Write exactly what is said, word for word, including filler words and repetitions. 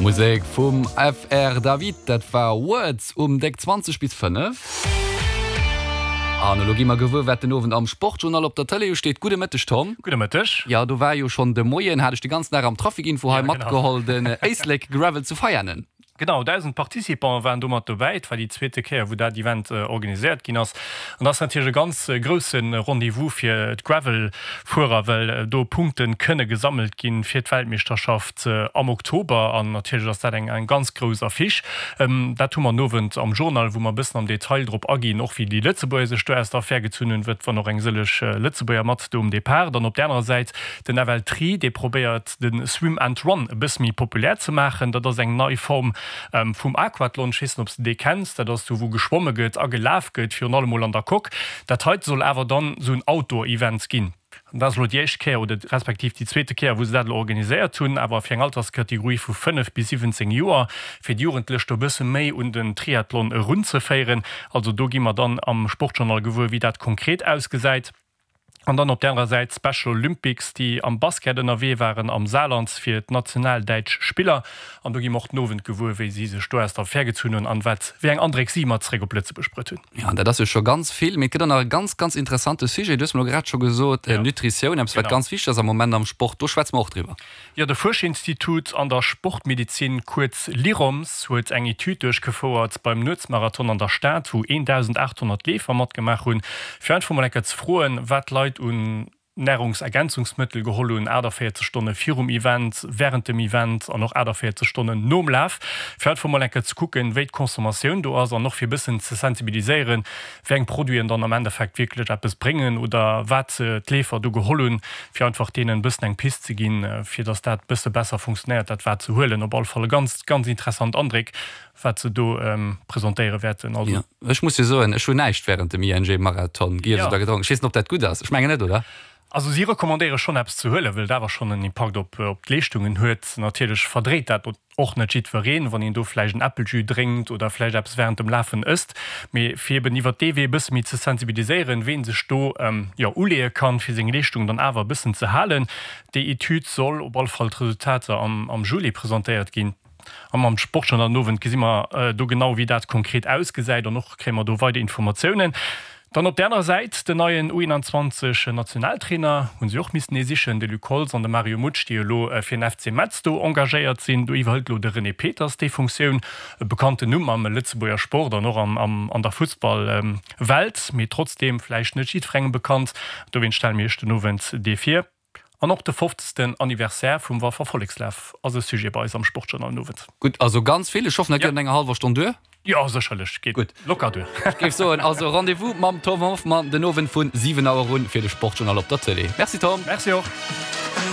Musek vum FR David, dat war Words um déck zwanzeg bis fënnef. An elo gi mer gewuer, wat den Owend am Sportjournal op der Tëlee usteet. Gudde Mëtteg, Tom. Gudde Mëtteg. Jo, do war jo schonn de Moien, hat ech de ganzen Dag am Trafic-Info hei matgeholl, den Éislek Gravel zu Veianen. Genau, dausend Participante waren do mat dobäi. Et war déi zweete Kéier, wou dat Event organiséiert ginn ass. An dat ass natierlech e ganz grousse Rendez-vous fir d'Gravel-Fuerer, well do Punkte kënne gesammelt ginn fir d'Weltmeeschterschaft am Oktober. An natierlech ass dat eng eng ganz grouss Affiche. Dat hu mer den Owend am Journal, wou mer e bëssen am Detail drop aginn, och wéi déi Lëtzebuerger sech do aus der Affär gezunn hunn, wëtt wann och eng sëlleg Lëtzebuerger mat do um Depart. Dann op där anerer Säit den F L Tri, dee probéiert de Swim and Run e bësse méi populär ze maachen. Dat ass eng nei Form vum Aquathlon. Ech weess net, ob s de dee kenns. Dat ass do, wou geschwomme gëtt a gelaf gëtt, virun allem mol an der Coque. Dat heite soll awer dann esou en Outdoor-Event ginn. An dat ass elo déi éischt Kéier oder respektiv déi zweete Kéier, wou se dat elo organiséiert hunn, awer fir eng Alterskategorie vu fënnef bis siwwenzéng Joer, fir déi Jugendlech do e bësse méi un den Triathlon erunzeféieren. Also do gi mer dann am Sportjournal gewuer, wéi dat konkret ausgesäit. An dann op där anerer Säit d'Special Olympics, déi am Basket ënnerwee waren am Saarland fir d'national däitsch Spiller. An do gi mer och den Owend gewuer, wéi si sech do aus der Affär gezunn hunn an wat wéi eng Andréck si mat zeréck op Lëtzebuerg bruet hunn. Jo, an dat ass jo scho ganz vill. Mee et gëtt och nach e ganz, ganz interessante Sujet. Du hues mer elo grad scho gesot, Nutritioun, eppes wat ganz wichteg ass am Moment am Sport. Do schwätze mer och driwwer. Jo, de Fuerschinstitut an der Sportmedezin, kuerz LIROMS, huet eng Etüd duerchgefouert beim Nuetsmarathon an der Stad, wou een Dausend aacht honnert Leefer matgemaach hunn, fir einfach mol eng Kéier ze froen, wat d'Leit un Nahrungsergänzungsmëttel geholl hunn achtaviertzeg Stonne virum Event, wärend dem Event an och achtaviertzeg Stonnen nom Laf, fir einfach mol eng Kéier ze kucken, wéi d'Consommatioun do ass an och fir e bëssen ze sensibiliséieren, wéi eng Produiten dann am Endeffekt wierklech eppes bréngen oder wat d'Leefer do geholl hunn, fir einfach deenen e bëssen eng Pist ze ginn, fir dass dat e bësse besser funktionéiert, dat wat se huelen. Op alle Fall e ganz, ganz interessant Andréck, wat se do presentéiere wäerten. Also. Jo, ech muss jo soen, ech hunn näischt wärend dem I N G-Marathon giess oder gedronk. Ech weess net, ob dat gutt ass. Ech mengen net, oder? Also si recommandéiere schonn eppes ze huelen, well et awer schonn en Impakt op op d'Leeschtungen huet. Natierlech verdréit dat och net jiddwereen, wann een do vläicht en Äppeljus drénkt oder vläicht eppes wärend dem Lafen ësst. Mee fir eben iwwert dee Wee e bësse méi ze sensibiliséieren, ween sech do jo uleeë kann, fir seng Leeschtung dann awer e bëssen ze halen. Déi Etüd soll op alle Fall d'Resultater am am Juli presentéiert ginn. A mam Sportjournal den Owend gesi mer do genau, wéi dat konkret ausgesäit an och kréie mer do weider Informatiounen. Dann op där anerer Säit den neien U eenanzwanzeg Nationaltrainer, hunn si och missten ee sichen, de Luc Holtz an de Mario Mutsch, déi elo fir den F C Metz do engagéiert sinn. Do iwwerhëlt elo de René Peters déi Funktioun, e bekannten Numm am Lëtzebuerger Sport an och an der Fussballwelt, mee trotzdeem vläicht net jiddwerengem bekannt. Dowéinst stelle mir iech den Owend dee vir. An och de fofzegsten Anniversaire vum Walfer Vollekslaf ass e Sujet bei eis am Sportjournal den Owend. Gutt, also ganz vill. Ech hoffen, dat geet an enger hallwer Stonn duer. Jo, sécherlech, geet Gutt. locker duer. Ech géif soen, also Rendez-vous mam Tom Hoffmann den Owend vun siwen Auer un fir de Sportjournal op der Tëlee. Merci Tom. Merci och.